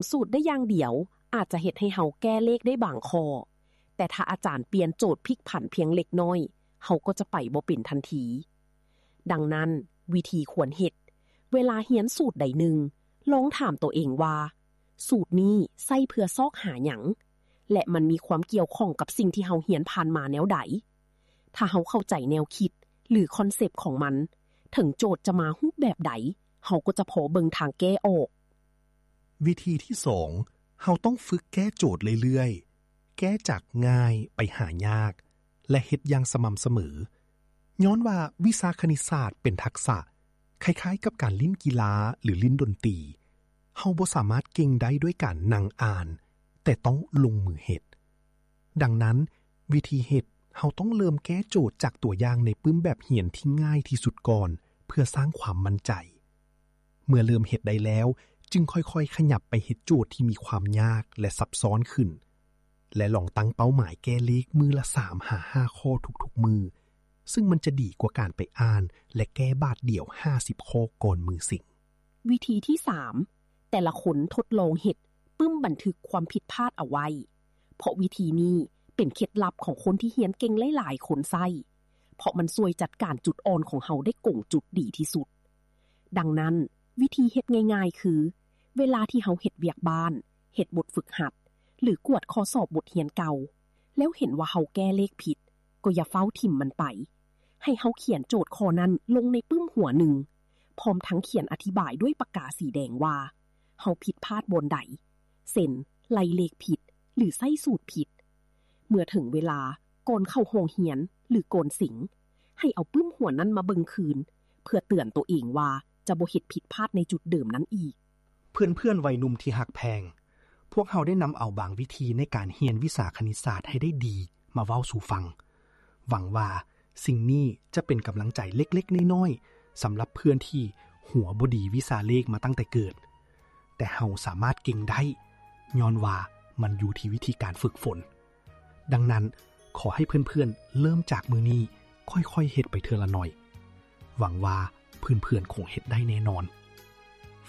ສູດໄດ້ຢ່າງດຽວອາດຈະເຮັດໃຫ້ເຮົາແກ້ເລກໄດ້ບາງຂໍ້, ແຕ່ຖ້າອາຈານປ່ຽນໂຈດພິກຜັນພຽງເລັກນ້ອຍ, ເຮົາກໍຈະໄປບໍ່ເປັນທັນທີ. ດັ່ງນັ້ນ, ວິທີຄວນເຮັດ, ເວລາຮຽນສູດໃດໜຶ່ງ, ລອງຖາມໂຕເອງວ່າ, ສູດນີ້ໃຊ້ເພື່ອຊອກຫາຫຍັງ? ແລະ ມັນມີຄວາມກ່ຽວຂ້ອງກັບສິ່ງທີ່ເຮົາຮຽນຜ່ານມາແນວໃດ? ຖ້າເຮົາເຂົ້າໃຈແນວຄິດ ຫຼື ຄອນເຊັບຂອງມັນ, ເຖິງໂຈດຈະມາຮູບແບບໃດ, ເຮົາກໍຈະພໍເບິ່ງທາງແກ້ອອກ. ວິທີທີສອງ, ເຮົາຕ້ອງຝຶກແກ້ໂຈດເລື້ອຍໆ, ແກ້ຈາກງ່າຍໄປຫາຍາກ ແລະ ເຮັດຢ່າງສະໝ່ຳສະເໝີ. ຍ້ອນວ່າວິຊາຄະນິດສາດເປັນທັກສະ ຄ້າຍໆກັບການຫຼິ້ນກິລາ ຫຼື ຫຼິ້ນດົນຕີ. ເຮົາບໍ່ສາມາດເກັ່ງໄດ້ດ້ວຍການນັ່ງອ່ານ, ແຕ່ຕ້ອງລົງມືເຮັດ. ດັ່ງນັ້ນ, ວິທີເຮັດ, ເຮົາຕ້ອງເລີ່ມແກ້ໂຈດຈາກຕົວຢ່າງໃນປຶ້ມແບບຮຽນທີ່ງ່າຍທີ່ສຸດກ່ອນ ເພື່ອສ້າງຄວາມໝັ້ນໃຈ. ເມື່ອເລີ່ມເຮັດໄດ້ແລ້ວ, ຈຶ່ງຄ່ອຍໆຂະຫຍັບໄປເຮັດໂຈດທີ່ມີຄວາມຍາກ ແລະ ຊັບຊ້ອນຂຶ້ນ, ແລະ ລອງຕັ້ງເປົ້າໝາຍແກ້ເລກມື້ລະສາມຫາຫ້າຂໍ້ທຸກໆມື້, ຊຶ່ງມັນຈະດີກວ່າການໄປອ່ານ ແລະ ແກ້ບາດດຽວຫ້າສິບຂໍ້ກ່ອນມື້ເສັງ. ວິທີທີສາມ, ແຕ່ລະຄົນທົດລອງເຮັດປຶ້ມບັນທຶກຄວາມຜິດພາດເອົາໄວ້, ເພາະວິທີນີ້ເປັນເຄັດລັບຂອງຄົນທີ່ຮຽນເກັ່ງຫຼາຍໆຄົນໃຊ້, ເພາະມັນຊ່ວຍຈັດການຈຸດອ່ອນຂອງເຮົາໄດ້ກົງຈຸດດີທີ່ສຸດ. ດັ່ງນັ້ນ, ວິທີເຮັດງ່າຍໆຄື, ເວລາທີ່ເຮົາເຮັດວຽກບ້ານ, ເຮັດບົດຝຶກຫັດ ຫຼື ກວດຂໍ້ສອບບົດຮຽນເກົ່າ, ແລ້ວເຫັນວ່າເຮົາແກ້ເລກຜິດ, ກໍຢ່າຟ້າວຖິ້ມມັນໄປ. ໃຫ້ເຮົາຂຽນໂຈດຂໍ້ນັ້ນລົງໃນປຶ້ມຫົວໜຶ່ງ, ພ້ອມທັງຂຽນອະທິບາຍດ້ວຍປາກກາສີແດງວ່າ ເຮົາຜິດພາດບ່ອນໃດ, ເຊັ່ນ ໄລ່ເລກຜິດ ຫຼື ໃຊ້ສູດຜິດ. ເມື່ອເຖິງເວລາ, ກ່ອນເຂົ້າຫ້ອງຮຽນ ຫຼື ກ່ອນເສັງ, ໃຫ້ເອົາປຶ້ມຫົວນັ້ນມາເບິ່ງຄືນ, ເພື່ອເຕືອນໂຕເອງວ່າຈະບໍ່ເຮັດຜິດພາດໃນຈຸດເດີມນັ້ນອີກ. ເພື່ອນໆໄວໜຸ່ມທີ່ຮັກແພງ, ພວກເຮົາໄດ້ນຳເອົາບາງວິທີໃນການຮຽນວິຊາຄະນິດສາດໃຫ້ໄດ້ດີມາເວົ້າສູ່ຟັງ. ຫວັງວ່າສິ່ງນີ້ຈະເປັນກຳລັງໃຈເລັກໆນ້ອຍໆ ສຳລັບເພື່ອນທີ່ຫົວບໍ່ດີວິຊາເລກມາຕັ້ງແຕ່ເກີດ, ແຕ່ເຮົາສາມາດເກັ່ງໄດ້ ຍ້ອນວ່າມັນຢູ່ທີ່ວິທີການຝຶກຝົນ. ດັ່ງນັ້ນ, ຂໍໃຫ້ເພື່ອນໆເລີ່ມຈາກມື້ນີ້, ຄ່ອຍໆເຮັດໄປເທື່ອລະໜ້ອຍ. ຫວັງວ່າເພື່ອນໆຄົງເຮັດໄດ້ແນ່ນອນ.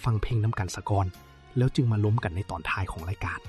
ຟັງເພງນຳກັນສາກ່ອນ, ແລ້ວຈຶ່ງມາລົມກັນໃນຕອນທ້າຍຂອງລາຍການ.